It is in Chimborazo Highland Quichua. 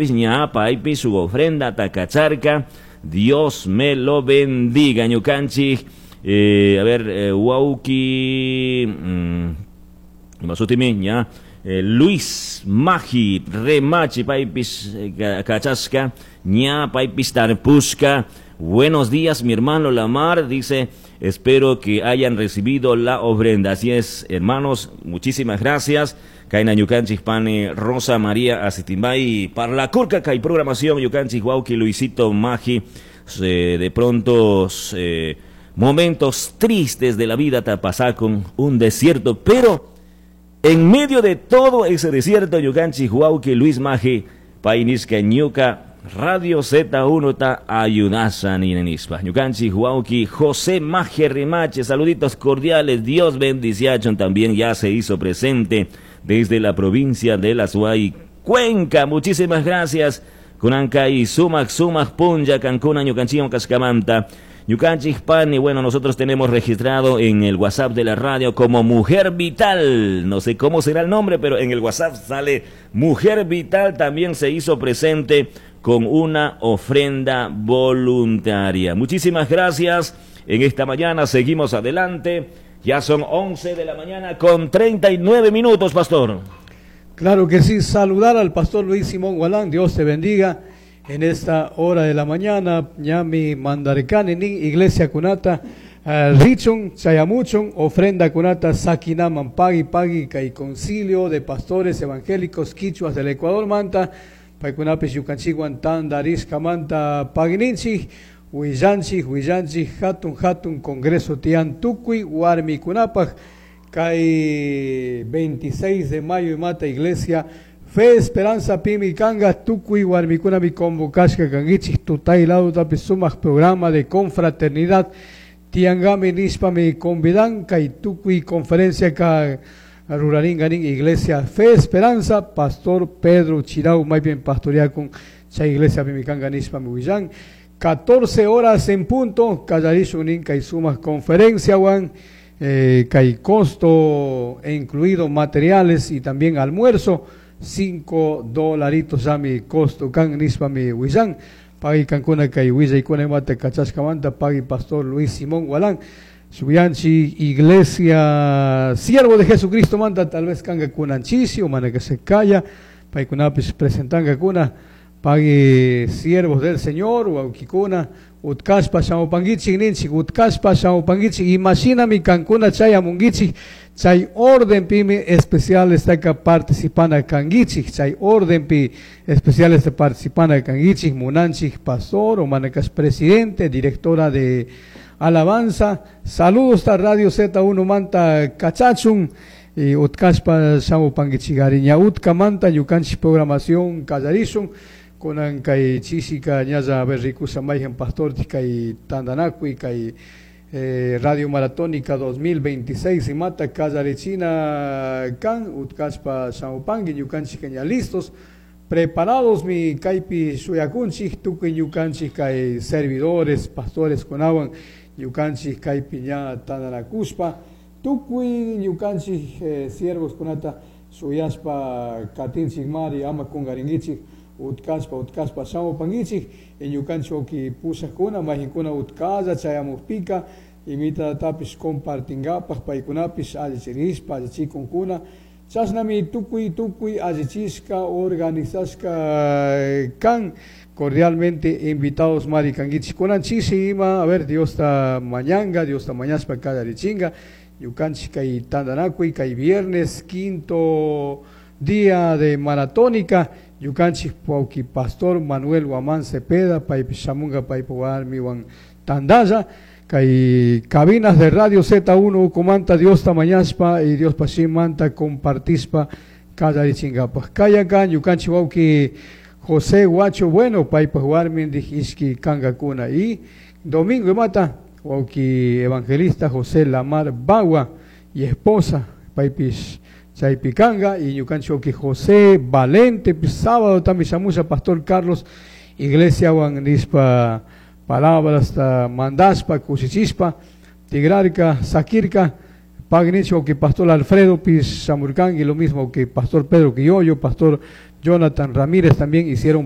nishpapish ña paypish su ofrenda kacharka. Dios me lo bendiga. Ñukanchik, a ver, wawki, masutimi, ña, Luis Magi Remachi, paypish kachashka, ña paypish tarpushka. Buenos días, mi hermano Lamar, dice, espero que hayan recibido la ofrenda. Así es, hermanos, muchísimas gracias. Kayna ñukanchik pani Rosa María Asitimbay, parlakurka kay programación ñukanchik wawki Luisito Magi, de pronto momentos tristes de la vida te con un desierto, pero en medio de todo ese desierto ñukanchik wawki Luis Magi, pay nishka ñuka Radio Z1 ta ayudasa nishpa. Ñukanchik wawki José Maje Remache, saluditos cordiales, Dios bendiciachon también ya se hizo presente desde la provincia de la Azuay, Cuenca. Muchísimas gracias. Kunanka y sumak sumak punlla kankuna ñukanchik kashkamanta. Ñukanchik pani, bueno, nosotros tenemos registrado en el WhatsApp de la radio como Mujer Vital. No sé cómo será el nombre, pero en el WhatsApp sale Mujer Vital. También se hizo presente con una ofrenda voluntaria. Muchísimas gracias. En esta mañana seguimos adelante. Ya son 11 de la mañana con 39 minutos, pastor. Claro que sí, saludar al pastor Luis Simón Gualán, Dios te bendiga en esta hora de la mañana, ñami mandarkani nin iglesia kunata, richun, chayamuchun, ofrenda kunata, sakinaman pagui pagui, kay concilio de pastores evangélicos quichuas del Ecuador manta, paykunapish ñukanchikwan tandarishkamanta paguininchik, willanchik, willanchik, hatun hatun congreso tiyan tukuy warmikunapaj, kay 26 de mayo imata iglesia Fe Esperanza Pimi Kanga tukuy warmikunami convocashka kankichik tutay lado sumaq programa de confraternidad tiangami nishpami convidan kay tukuy conferencia ka ruraringa nin iglesia Fe Esperanza Pastor Pedro Chirau maypin pastoreakun chay iglesia pimi kanga nishpami willan 14 horas en punto kallarishun nin kay sumaq conferencia wan kay costo e incluido materiales y también almuerzo 5 dolaritos mi costo kan nishpa mi willan pagui kankuna kay willaykuna imata kachashkamanta pagui pastor Luis Simón Gualán Shuyanchi iglesia siervo de Jesucristo manta tal vez kanga kunanchisi o mana que se calla paykunapis presentanga kuna pagui siervos del Señor wawkikuna utkashpa shamupankichik ninchik utkashpa shamupankichik imashinami kankuna chayamunkichik chay orden pimi especial estaka participana kankichik chay orden pi especial este participana kankichik munanchik pastor o manakas presidente directora de alabanza saludos ta Radio Z1 manta kachachun y utkashpa shamupankichik ña utkamanta ñukanchik programación kallarishun kunan kay chisika ñalla rikusha mayhan pastor kay tantanakuy kay Radio Maratónica 2026 imata kallarichina kan utkashpa shamupanki ñukanchik ña listos preparados mi kaypi shuyakunchik tukuy ñukanchik kay servidores pastores kunawan ñukanchik kaypi ña tantanakushpa tukuy ñukanchik siervos kunata shuyashpa katinchik mari ama kunkarinkichik utkashpa utkashpa shamupankichik ñukanchik wawki pushakuna mayqinkuna utkalla chayamukpika imitatapish compartinkapaj paykunapish allichirishpa allichikunkuna chashnami tukuy tukuy allichishka organizashka kan cordialmente invitados mari kankichik kunan chishi ima a ver Diosta mañanga Diosta mañashpa kallarichinga ñukanchik kay tantanakuy kay viernes quinto día de maratónica ñukanchik wawki pastor Manuel Guamán Cepeda paypish shamunga paypa warmiwan tantalla kay cabinas de Radio Z1 ukumanta Diosta mañashpa y Diospa shimanta compartishpa kallarichinkapaj kayaka ñukanchik wawki José Guacho Bueno paypaj warmindik ishki kankakuna y domingo imata wawki evangelista José Lamar Bagua y esposa paypish chaypi kanga y ñukanchik wawki José Valente sábado también shamusha pastor Carlos iglesia wan nishpa palabras mandashpa kushichishpa tigrarka sakirka pagnichik wawki pastor Alfredo pis shamurkanki lo mismo que pastor Pedro Quilloyo pastor Jonathan Ramírez también hicieron